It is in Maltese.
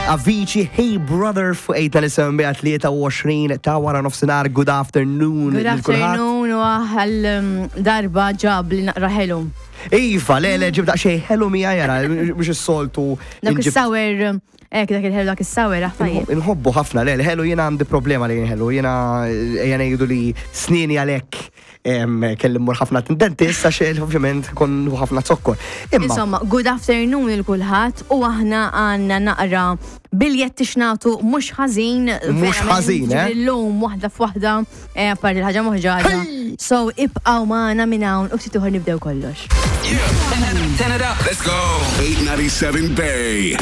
Avicii, Hey Brother fuq 8 23 ta' wara nofsinhar. Good afternoon. Good lil kulħadd. Afternoon u għal darba ġab li naqra ħelu. Iva, le, le, ġib daqsxejn ħelu mija jara, mhux is-soltu. Dak is-sour, ek dak il-ħelu dak is-sour, ah, tajjeb. Inħobbu ħafna, le, l-ħelu jiena għandi problema li ħelu, jiena ejja ngħidu li snini għalhekk kelli mmur ħafna dentist għax ovvjament kon ħafna zokkor. Imma Insomma, good afternoon il kulħadd u aħna għandna naqra biljetti x'nagħtu mhux ħażin. Mhux verament, ħażin, eh? Illum waħda f'waħda, apparti l-ħaġa moħġaġa. So ibqgħu magħna minn hawn u ftit ieħor nibdew kollox. Let's go. 897 Bay.